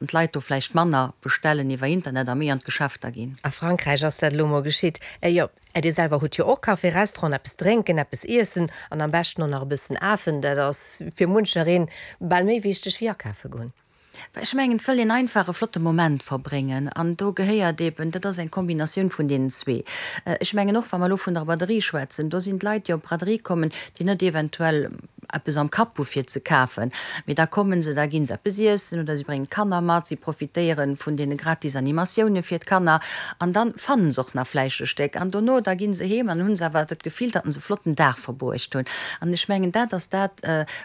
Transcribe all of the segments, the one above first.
d'Leit do vläicht manner bestellen iwwer Internet a méi an d'Geschäfter ginn. A Frankräich ass dat elo mol geschitt. Jo, Dir selwer hutt jo och Café, Restaurant, eppes drénken, eppes iessen an am beschten och nach e bëssen afen. Dat ass fir munchereen bal méi wichteg wéi akafe goen. Ech mengen, et wëll een einfach e flotte Moment verbréngen an do gehéiert eben, dat ass eng Kombinatioun vun deenen zwee. Ech mengen och, wa mer elo vun der Braderie schwätzen, do sinn d'Leit, déi op d'Braderie kommen, déi net eventuell eppes am Kapp hu fir ze kafen, mee da kommen se, da gi se eppes iessen oder si bréngen d'Kanner mat, si profitéiere vun deene gratis Animatioune fir d'Kanner an da fannen se och nach vläicht e Stéck an dono da gi se heem an hunn se awer dat Gefill, datt se e flotten Dag verbruecht hunn. An ech mengen, dat ass dat,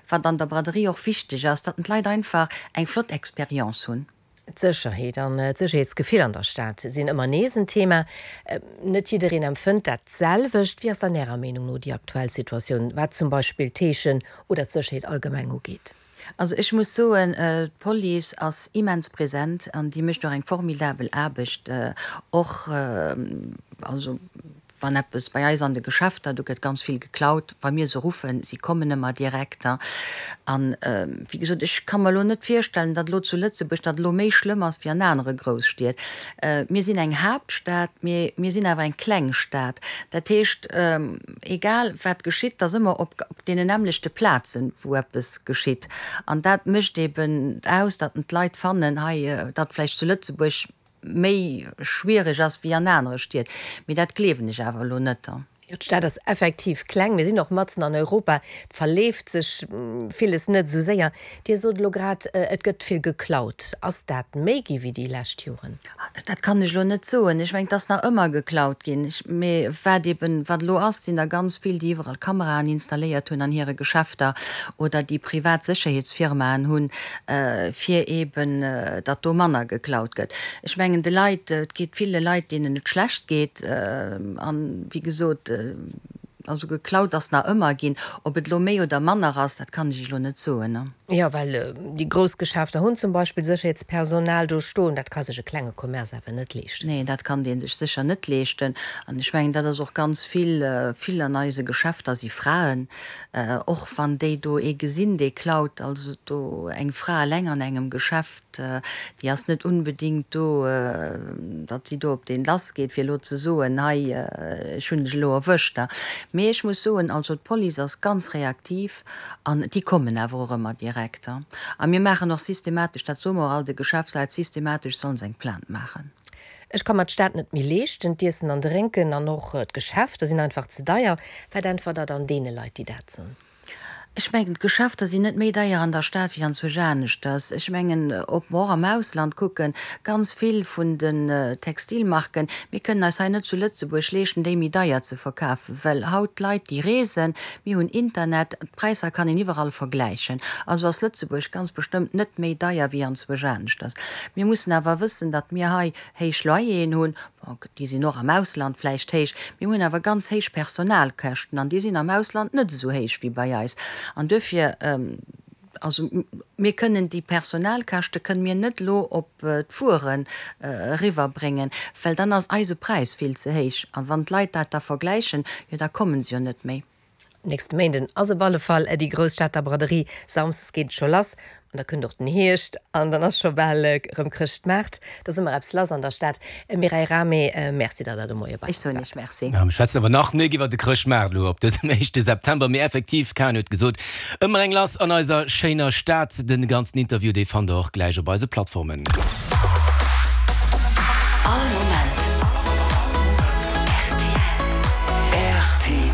wat an der Braderie och wichteg ass, datt d'Leit einfach eng flott Expérience hunn. D'Sécherheet an d'Sécherheetsgefill an der Stad sinn ëmmer nees en Thema. Net jiddereen empfënnt dat d'selwecht. Wéi ass dann Ärer Meenung no déi aktuell Situatioun, wat zum Beispill d'Heeschen oder d'Sécherheet allgemeng ugeet? Also ech muss soen, d'Police ass immens present an déi mécht och eng formidabel Aarbecht, och also Wann eppes bei eis an de Geschäfter, do gëtt ganz vill geklaut, wa mir se ruffen, si kommen ëmmer direkt. An, wéi gesot, ech ka mer elo net virstellen, datt elo zu Lëtzebuerg dat elo méi schlëmm ass wéi an anere Grousstied. Mir sinn eng Haaptstad, mee mir sinn awer eng kleng Stad. Dat heescht, egal wat geschitt, et ass ëmmer op deenen nämmlechte Plazen, wou eppes geschitt. An dat mécht eben aus, datt d'Leit fannen, hei, datt vläicht zu Lëtzebuerg méi schwiereg ass wéi an anere Stied, mee dat gleewen ech awer elo net. Jo, d'Stad ass effektiv kleng. Mir sinn och matzen an Europa. Et verleeft sech villes net esou séier. Dir sot elo grad, et gëtt vill geklaut. Ass dat méi gi wéi déi lescht Joren? Dat kann ech elo net soen. Ech mengen, et ass nach ëmmer geklaut ginn. Mee wat eben, wat elo ass, sinn der ganz vill, déi iwwerall Kameraen installéiert hunn an hire Geschäfter oder déi privat Sécherheetsfirmaen hunn, fir eeben, datt do manner geklaut gëtt. Ech mengen, de Leit, et geet ville Leit, deenen et schlecht geet. An, wéi gesot, also geklaut ass nach ëmmer ginn. Ob et elo méi oder manner ass, dat kann ech Iech elo net soen. Jo, well déi grouss Geschäfter hunn zum Beispill Sécherheetspersonal do stoen. Dat ka sech e klenge Commerce awer net leeschten. Nee, dat kann dee sech sécher net leeschten. An ech mengen, dat ass och ganz vill, vill an eise Geschäfter si Fraen. Och wann déi do ee gesinn, dee klaut, also do eng Fra eleng an engem Geschäft, déi ass net unbedingt do, datt si do op deen lass geet, fir elo ze soen, hei, ech hunn dech elo erwëscht. Mee ech muss soen, also d'Police ass ganz reaktiv an déi kommen awer och ëmmer direkt. A mir maachen och systematesch, dat soe mer och all de Geschäftsleit, systematesch sollen se eng Plainte maachen. Ech ka mer d'Stad net méi leeschten, d'Iessen an Drénken an och d'Geschäfter sinn einfach ze deier. Wat äntwert der dann deene Leit, déi dat soen? Ech mengen, d'Geschäfter sinn net méi deier an der Stad wéi anzwousch aneschters. Ech mengen, ob mer och am Ausland kucken, ganz vill vun den Textilmarken, mir kënnen eis hei net zu Lëtzebuerg leeschten, déi méi deier ze verkafen, well haut d'Leit, déi reesen, mir hunn Internet, d'Präisser kann een iwwerall vergläichen. Also ass Lëtzebuerg ganz bestëmmt net méi deier wéi anzwousch aneschters. Mir mussen awer wëssen, datt mir hei héich Loyeren hunn, bon, déi sinn och am Ausland vläicht héich, mir hunn awer ganz héich Personalkäschten an déi sinn am Ausland net esou héich wéi bei eis. An duerfir, also mir kënnen déi Personalkäschte kënnen mir net elo op d'Wueren eriwwerbréngen, well dann ass eise Präis vill ze héich. A wann d'Leit dat da vergläichen, jo da komme se jo net méi. Nächste Méinden ass op alle Fall déi grouss Stater Braderie. Samsdes geet et scho lass an da kënnt och den Hierscht an dann ass scho bal erëm Chrëschtmaart. Da ass ëmmer eppes lass an der Stad. Mireille Rahmé, Merci, datt Der de Moie bei Ech eis soen waart. Iech Merci. Mir schwätzen awer nach nik iwwer de Chrëschtmaart elo op dësem éischte September, mee effektiv, d'Karen huet gesot, ëmmer eng lass an eiser schéiner Stad. De ganzen Interview, dee fannt der och gläich op eise Plattformen. All Moment rtl.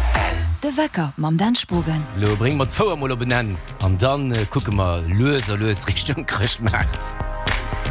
De Wecker mam Dan Spogen. Lo brénge mer d'Fouer mol op en Enn an dann kucke mer lues a lues Richtung Chrëschtmaart.